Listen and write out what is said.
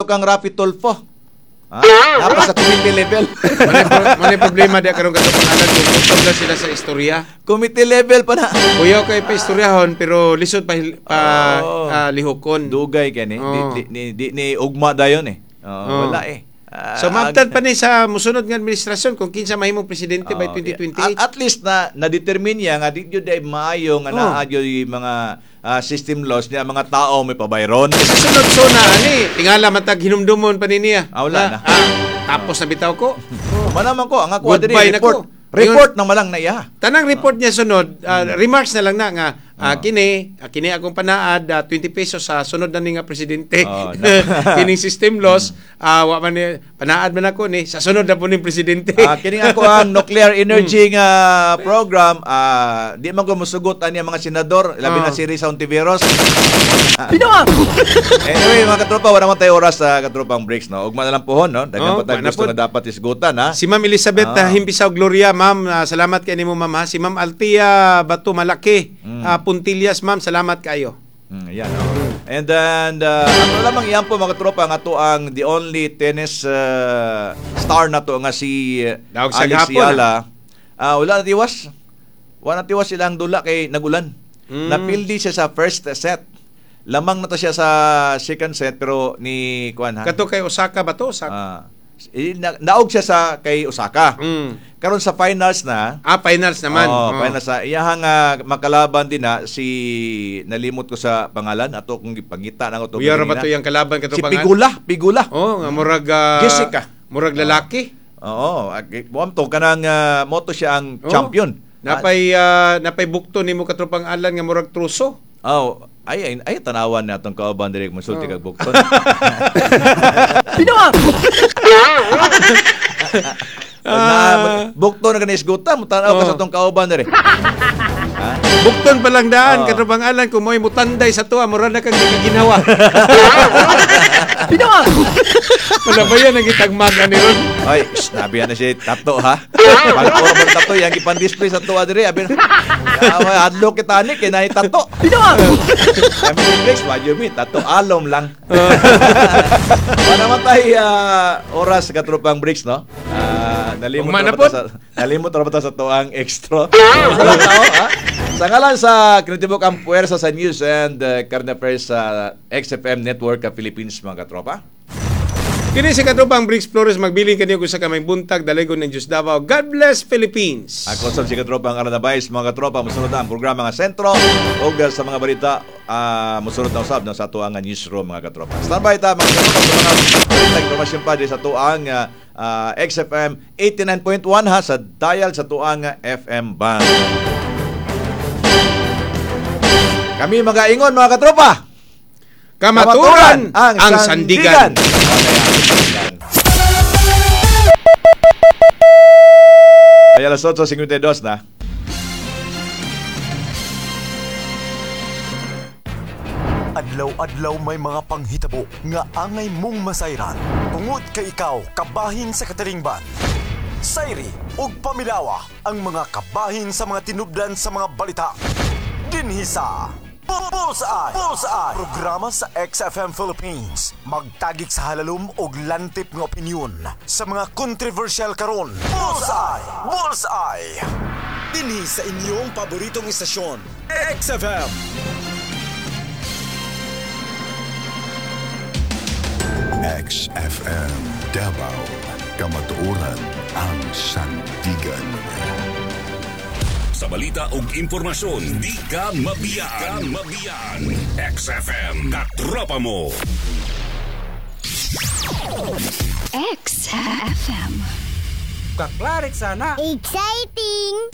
kang Raffy Tulfo. Ha? Napa sa committee level. Manay problema diya karon, katong pangalan kung gutom na sila sa istorya. Committee level pa na. Kuyaw kay pa istoryahon pero lisod pa, pa lihokon. Dugay kani. Di, di, di, di, ni ugma dayon eh. Oo. Wala eh. So maabtan pa ni sa musunod nga administrasyon kung kinsa mahimong presidente by 2028. At least na na-determine niya nga di jud ay maayo nga naa jud yung mga system laws niya mga tao may pabayron. Sa sunod sona ani, tingala matag hinumdumon pa ni niya. Wala na. Tapos na bitaw ko. Manaman ko ang ako diri Goodbye na report. ko. Report na malang na iya. Tanang report niya sunod, remarks na lang na nga kini, kini akong panaad 20 pesos sa sunod na ni nga presidente. Oh, na. Kining system laws, wa man ni panaad man ako ni sa sunod na po ning presidente. Kining ako ang nuclear energy nga program, di man ko musugot ani ang mga senador, labi na si Risa Hontiveros. Anyway, mga katropa, wala man tayo oras sa katropang breaks, no. Ugma na lang pohon, no. Daghan Oh, pa tayo ugma na gusto pod. nga dapat isgutan, ha. Si Ma'am Elizabeth Himpisaw Gloria, ma'am, salamat kay nimo, ma'am, ha. Si Ma'am Althea Bato Malaki, Puntillas, ma'am, salamat kayo. Yan, no? And then, ato lamang iyan po mga katropa, nga to ang the only tennis star na to nga si Daog sa Alex gapon, Eala. Wala na tiwas. Wala na tiwas silang dula kay nagulan. Napildi siya sa first set. Lamang na to siya sa second set pero ni kuan ha. Kato kay Osaka ba to? Osaka. Naog siya sa kay Osaka. Karon sa finals na. Finals naman. Oh, finals na. Iyahang makalaban din na si nalimot ko sa pangalan ato kung gipangita na ko to. Uya ra ba to yang kalaban kato Si pangalan? Pigula. Oh, nga murag Jessica. Murag lalaki. Oo, buam to kanang moto siya ang champion. Napay bukto nimo katropang Alan nga murag truso. Oh, ay ay tanawan na atong kauban direk mosulti kag bukton. Pinoa! Na bukton na kani isgutan, mo tanaw ka sa atong kauban dire. Bukton pa lang daan katropang Alan kung mo'y mutanday sa tuwa murag na kag ginawa. Pinoa! Wala ba yan ang gitagmag ani ron? Ay, nabi na siya tato ha. Pangkor man tato yang gipan-display sa tuwa dire. Abi hadlok kita ani kay naay tato. Pinoa! Kami ni Briggs, what you mean? Tato alom lang. Wala man tayo oras katropang Briggs, no? Nalimot Ugma na na ba ta sa nalimot ra ba ta sa tuang extra? Wala tao, ha? Sa ngalan sa Krinitibok ang puwersa sa news and current affairs sa XFM Network Philippines, mga katropa. Kini si katropang Briggs Flores magbilin kaniyo kung sa kamay buntag dalaygon ng Diyos Davao. God bless Philippines. Ako sab si katropang Aranabais, mga katropa, musunod na ang programa nga sentro ug sa mga balita musunod na usab no, sa atuang newsroom, mga katropa. Standby ta mga katropa sa mga balita impormasyon pa di sa atuang XFM 89.1 ha sa dial sa tuang FM band. Kami magaingon mga katropa. Kamaturan ang sandigan. Ay, alas 8:52 na. Adlaw-adlaw may mga panghitabo nga angay mong masayran. Tungod kay ikaw kabahin sa katilingban. Sayri ug pamilawa ang mga kabahin sa mga tinubdan sa mga balita. Dinhi sa Bullseye! Bullseye! Programa sa XFM Philippines. Magtagik sa halalom og lantip nga opinyon sa mga kontrobersyal karon. Bullseye! Bullseye! Dinhi sa inyong paboritong istasyon, XFM. XFM Davao, Kamatuoran ang sandigan. Sa balita ug impormasyon, di ka mabiyaan. Mabiyaan. XFM, katropa mo. XFM. Kaklarik sana. Exciting!